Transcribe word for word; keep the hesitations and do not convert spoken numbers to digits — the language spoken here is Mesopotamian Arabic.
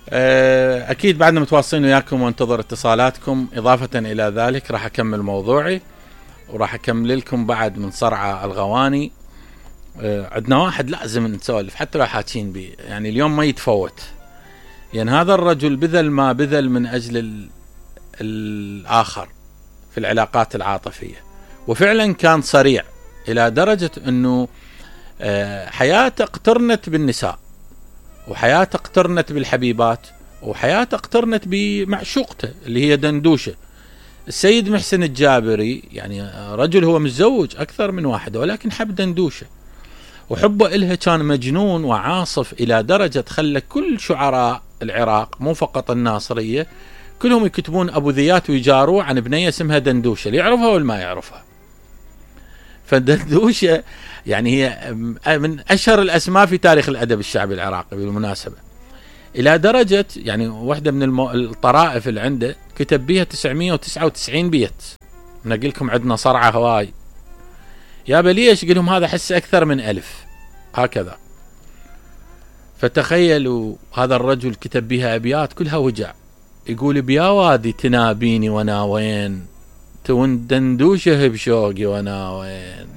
أكيد بعدنا متواصلين وياكم وانتظر اتصالاتكم. إضافة إلى ذلك راح أكمل موضوعي وراح أكمل لكم بعد من صرعى الغواني. عندنا واحد لازم نسولف حتى لو حاكين بيه، يعني اليوم ما يتفوت، يعني هذا الرجل بذل ما بذل من أجل الآخر في العلاقات العاطفية، وفعلا كان صريع إلى درجة أنه حياته اقترنت بالنساء، وحياته اقترنت بالحبيبات، وحياته اقترنت بمعشوقته اللي هي دندوشة. السيد محسن الجابري يعني رجل هو متزوج أكثر من واحدة، ولكن حب دندوشة، وحبه إلها كان مجنون وعاصف إلى درجة خلى كل شعراء العراق مو فقط الناصرية كلهم يكتبون أبو ذيات ويجاروه عن بنية اسمها دندوشة، اللي يعرفها ولا ما يعرفها. فدندوشة يعني هي من أشهر الأسماء في تاريخ الأدب الشعبي العراقي بالمناسبة، إلى درجة يعني واحدة من المو... الطرائف اللي عنده كتب بيها تسعمية وتسعة وتسعين بيت. نقول لكم عندنا صرعة هواي يا بليش، قلهم هذا حس أكثر من ألف هكذا. فتخيلوا هذا الرجل كتب بها أبيات كلها وجع، يقول بيا وادي تنابيني وانا وين، تون دندوشه بشوقي وانا وين.